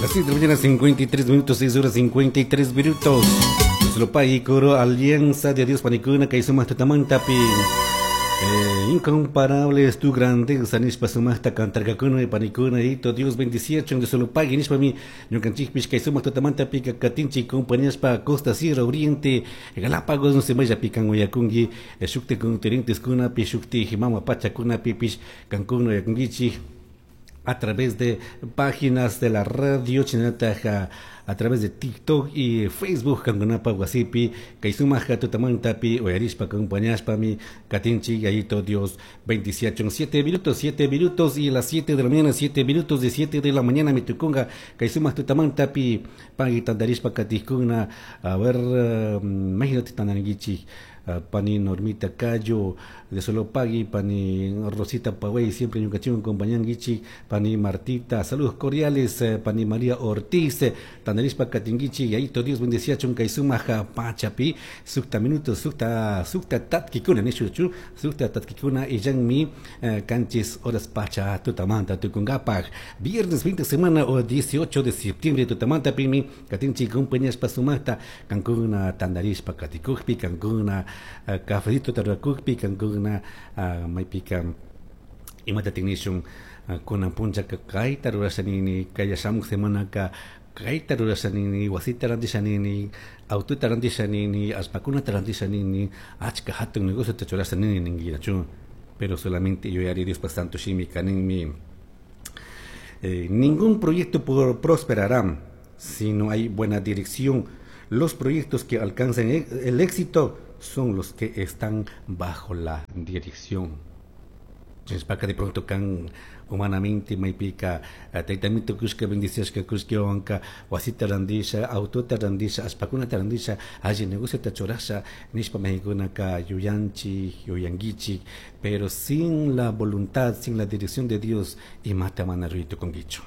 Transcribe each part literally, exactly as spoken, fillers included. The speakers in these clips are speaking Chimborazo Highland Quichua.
Las seis de la mañana, cincuenta y tres minutos, seis horas cincuenta y tres minutos. Slopay coro Alianza de Dios panicuna kay sumak tutamantapi. Eh, incomparable es tu grandeza, nishpa sumaqta cantarkakuna panicuna y Dios bendiciachun de solo pague nishpa mi ñukanchikpish kay sumaq tutamantapi katinchik compañaspa Costa, Sierra, Oriente, Galápagos, no se maypi kan uyakunki, shukti continentes kunapi, shukti mama pachakunapipish kankuna uyakunkichik a través de páginas de la radio chinataja, a través de TikTok y Facebook. Kankunapa wasipi kay sumaq tutamantapi uyarishpa acompañashpami katinchik. Yayito Dios bendiciachun. siete minutos, siete minutos y las siete de la mañana, siete minutos de siete de la mañana mi tukunga kay sumaq tutamantapi pagui tantarishpa katikuna. A ver, imagínate tandarinkichik pani Normita Cayo de Solopagui, pani Rosita Pagüey, siempre ñukanchikwan acompañankichik, pani Martita, saludos cordiales, eh, pani María Ortiz, eh, tandarishpa katinkichik. Yayito Dios bendiciachun kay sumaja pachapi. Sukta minutos, sukta, sukta tatkikuna, nishuchu, sukta tatkikuna illanmi eh, kanchis horas pacha tutamanta tukunkapaj. Viernes veinte semana o dieciocho de septiembre tutamanta pimi katinchik compañaspa sumaqta kankuna tandarishpa katikukpi, kankuna uh, cafecito tarakukpi, kankuna uh, maypika imata tinishun, uh, kunan punchaka kayta rurasha nini, kaya shamuk semanaka kayta rurasha nini, wasita rantisha nini, autota rantisha nini, allpakunata rantisha nini, achka hatun negociota churasha nini ninkirachu. Pero solamente yuyari Diospa santo shimika ninmi: eh, ningún proyecto por, prosperará si no hay buena dirección. Los proyectos que alcanzan el éxito son los que están bajo la dirección. Chinspaka de pronto kan humanamente maypika taytamito kushka bendiciashka kushkiwanka wasita randisha, autota randisha, allpakunata randisha, alli negociota churasha nishpa maykunaka yuyanchik, yuyankichik, pero sin la voluntad, sin la dirección de Dios, imata mana ruraytukunkichu,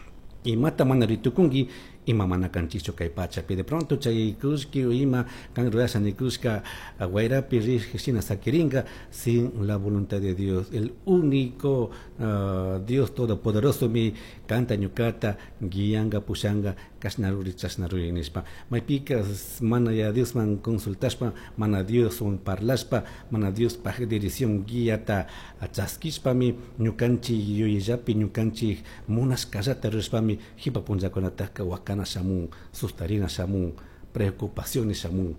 imata mana ruraytukunki, ima mana kanchikchu kay pachapi. De pronto chay kushki o ima kan rurasha nikushka wayrapi rij shina sakiringa sin la voluntad de Dios. El único uh, Dios todopoderoso mi kanta ñukata guianga, pushanga, kashna ruri, chashna ruri nishpa. Maypika mana ya Diosman consultashpa, mana Dioswan parlashpa, mana Diospaj dirección guiata chaskishpami ñukanchik yuyayllapi ñukanchik munashkallata rurashpami jipa punllakunataka wakana shamun, sustarina shamun, preocupaciones shamun,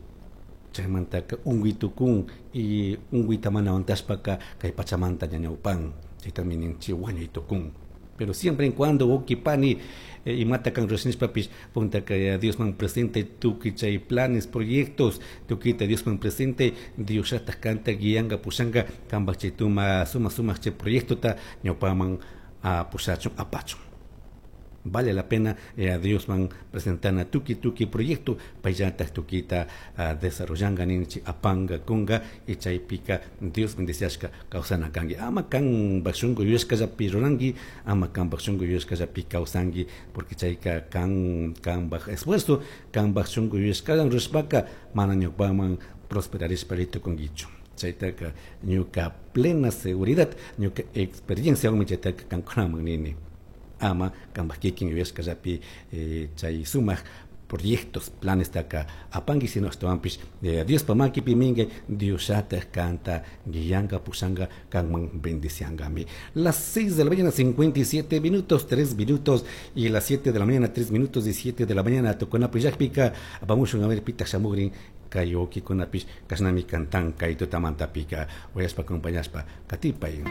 chaymantaka unkuy tukun y unkuyta mana aguantashpaka kay pachamanta ñañawpan. Chaytami ninchik wañuy tukun. Pero siempre en cuando wawki pani eh, imata kan rurashnishpapish puntaka Diosman presente tukuy chay planes, proyectos, tukuyta Diosman presente. Diosllataj kanta guianga, pushanga kanpaj chay tuma suma sumaq chay proyectota ñawpaman pushachun, apachun. Vale la pena eh, a Diosman presentana tukuy tukuy proyecto, payllataj tukuyta uh, desarrollanga ninchik, apanga kunga y chaypika Dios bendiciashka kawsana kanki. Ama kanpaj shunku yuyashkallapi ruranki, ama kanpaj shunku yuyashkallapi kawsanki, porque chayka kan kanpaj esfuerzo, kanpaj shunku yuyashkawan rurashpaka mana ñawpaman prosperarishpa ritukunkichu. Chaytaka ñuka plena seguridad, ñuka experienciawanmi chaytaka kankunaman nini: ama kanpaj kikin yuyashkallapi eh, chay sumaq proyectos, planes taka apanki, sino ashtawanpish eh, Diospa makipi minkay. Diosllataj kanta guianga, pushanga, kanman bendiciangami. Las seis de la mañana cincuenta y siete minutos, tres minutos y las siete de la mañana tres minutos y siete de la mañana tukunapi llakpika apamushun. A ver, pitaj shamugrin kay wawkikunapish kashnami cantan kay tutamantapika. Uyashpa acompañashpa katipay.